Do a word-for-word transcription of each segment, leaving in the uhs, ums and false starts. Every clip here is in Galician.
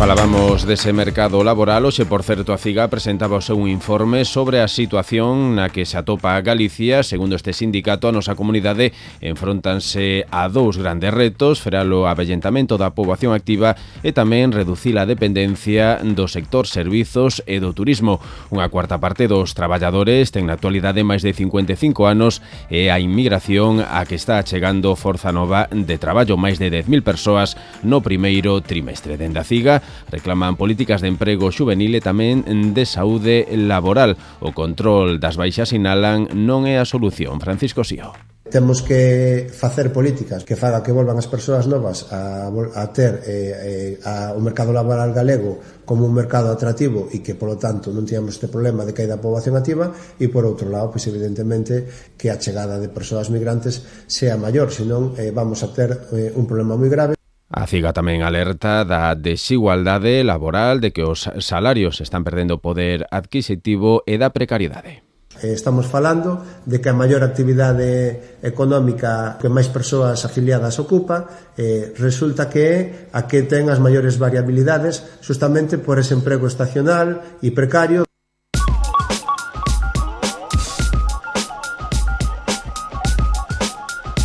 Falábamos dese mercado laboral. Hoxe, por certo, a CIGA presentaba o seu informe sobre a situación na que se atopa Galicia. Segundo este sindicato, a nosa comunidade enfróntanse a dous grandes retos: frear o avellentamento da poboación activa e tamén reducir a dependencia do sector servizos e do turismo. Unha cuarta parte dos traballadores ten na actualidade máis de cincuenta e cinco anos e a inmigración a que está chegando forza nova de traballo, máis de dez mil persoas no primeiro trimestre. Dende a CIGA reclaman políticas de emprego xuvenil e tamén de saúde laboral. O control das baixas, sinalan, non é a solución. Francisco Sío. Temos que facer políticas que faga que volvan as persoas novas a, a ter eh, a, o mercado laboral galego como un mercado atractivo e que, polo tanto, non teñamos este problema de caída da poboación activa, e, por outro lado, pois, evidentemente, que a chegada de persoas migrantes sea maior, senón eh, vamos a ter eh, un problema moi grave. A CIGA tamén alerta da desigualdade laboral, de que os salarios están perdendo poder adquisitivo e da precariedade. Estamos falando de que a maior actividade económica que máis persoas afiliadas ocupa eh, resulta que é a que ten as maiores variabilidades, justamente por ese emprego estacional e precario.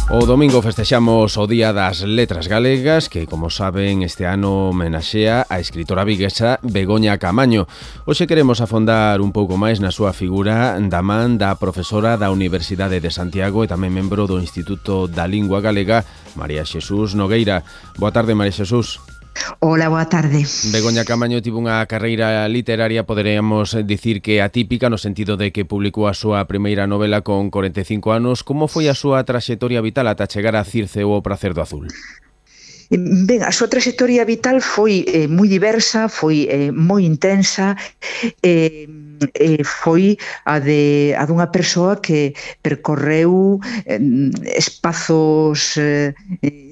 O domingo festexamos o Día das Letras Galegas, que, como saben, este ano homenaxea a escritora viguesa Begoña Camaño. Hoxe queremos afondar un pouco máis na súa figura da man da profesora da Universidade de Santiago e tamén membro do Instituto da Lingua Galega, María Xesús Nogueira. Boa tarde, María Xesús. Hola, boa tarde. Begoña Camaño tivo unha carreira literaria, poderíamos dicir que atípica, no sentido de que publicou a súa primeira novela con corenta e cinco anos. Como foi a súa traxectoria vital ata chegar a Circe ou o Pracer do Azul? Ben, a súa traxectoria vital foi eh, moi diversa, foi eh, moi intensa, e eh, foi a de a dunha persoa que percorreu eh, espazos eh,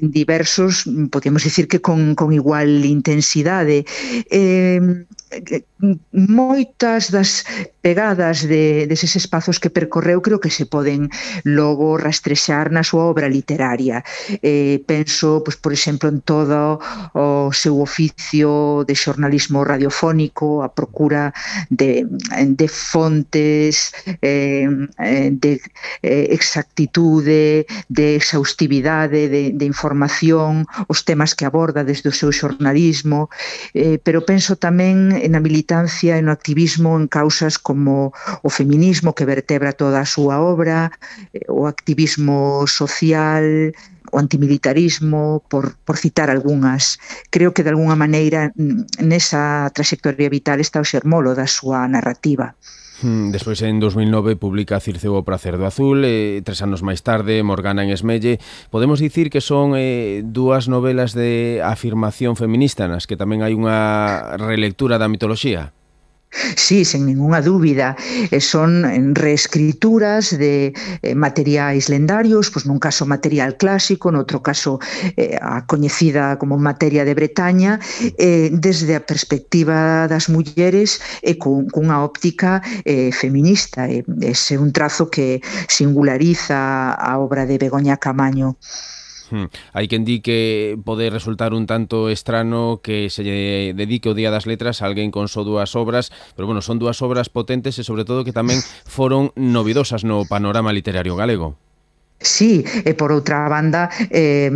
diversos, podemos dicir que con, con igual intensidade. Eh, moitas das pegadas de, deses espazos que percorreu creo que se poden logo rastrexar na súa obra literaria. Eh, penso, pois, por exemplo, en todo o seu oficio de xornalismo radiofónico, a procura de, de fontes, eh, de eh, exactitude, de exhaustividade, de, de información, os temas que aborda desde o seu xornalismo, eh, pero penso tamén na militancia e no activismo en causas como o feminismo, que vertebra toda a súa obra, o activismo social, o antimilitarismo, por, por citar algunhas. Creo que, de algunha maneira, nesa trayectoria vital está o xermolo da súa narrativa. Despois, en dos mil nove, publica Circe ou o Pracer do Azul, e tres anos máis tarde, Morgana en Esmelle. Podemos dicir que son eh, dúas novelas de afirmación feminista, nas que tamén hai unha relectura da mitoloxía? Sí, sen ninguna dúbida. Son reescrituras de materiais lendarios, pois nun caso material clásico, noutro caso eh, a coñecida como materia de Bretaña, eh, desde a perspectiva das mulleres e cun, cunha óptica eh, feminista. Ese é un trazo que singulariza a obra de Begoña Camaño. Hmm. Hai quen di que pode resultar un tanto estrano que se lle dedique o Día das Letras a alguén con só dúas obras, pero bueno, son dúas obras potentes e sobre todo que tamén foron novidosas no panorama literario galego. Sí, e por outra banda eh,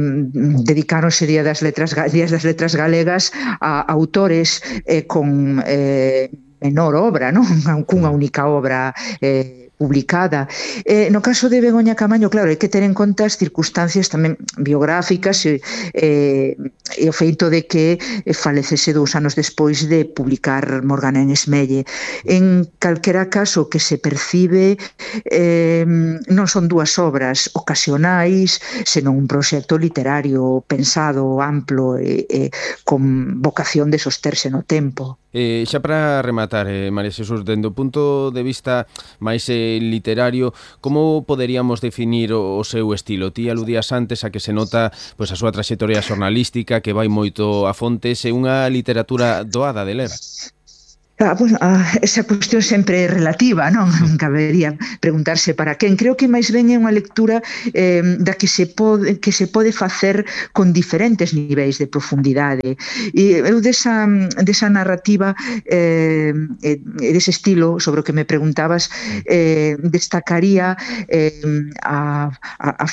dedicáronse Día das Letras, Días das Letras Galegas a autores eh, con eh, menor obra, non? Cunha única obra eh, publicada. Eh, no caso de Begoña Camaño, claro, hai que ter en conta as circunstancias tamén biográficas e, eh, e o feito de que falecese dous anos despois de publicar Morgana en Esmelle. En calquera caso, que se percibe eh, non son dúas obras ocasionais, senón un proxecto literario pensado, amplo e, e con vocación de sosterse no tempo. Eh, xa para rematar, eh, María Xesús, dende o punto de vista máis eh, literario, como poderíamos definir o, o seu estilo? Ti aludías antes a que se nota pois, a súa traxectoria xornalística, que vai moito a fontes, e unha literatura doada de ler. Ah, bueno, ah, esa cuestión sempre é relativa, non? Non cabería preguntarse para quen. Creo que máis ben é unha lectura eh, da que se pode que se pode facer con diferentes niveis de profundidade. E eu desa, desa narrativa eh, e dese estilo sobre o que me preguntabas eh, destacaría eh, a, a, a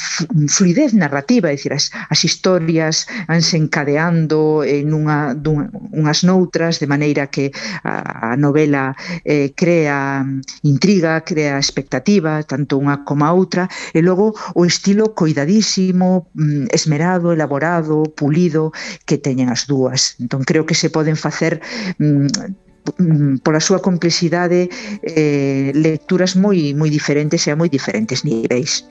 fluidez narrativa, é dicir, as, as historias vanse encadeando en unha, dun, unhas noutras, de maneira que a, a novela eh, crea intriga, crea expectativa, tanto unha como a outra, e logo o estilo coidadísimo, esmerado, elaborado, pulido que teñen as dúas. Entón creo que se poden facer mm, pola súa complexidade eh, lecturas moi moi diferentes e a moi diferentes niveis.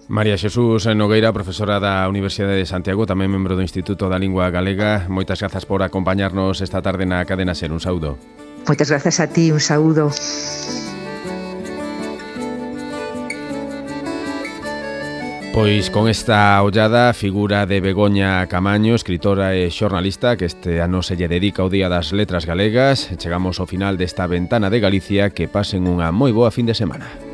María Xesús Nogueira, profesora da Universidade de Santiago, tamén membro do Instituto da Lingua Galega. Moitas grazas por acompañarnos esta tarde na Cadena Ser. Un saúdo. Moitas grazas a ti, un saúdo. Pois con esta ollada figura de Begoña Camaño, escritora e xornalista que este ano se lle dedica ao Día das Letras Galegas. Chegamos ao final desta ventana de Galicia. Que pasen unha moi boa fin de semana.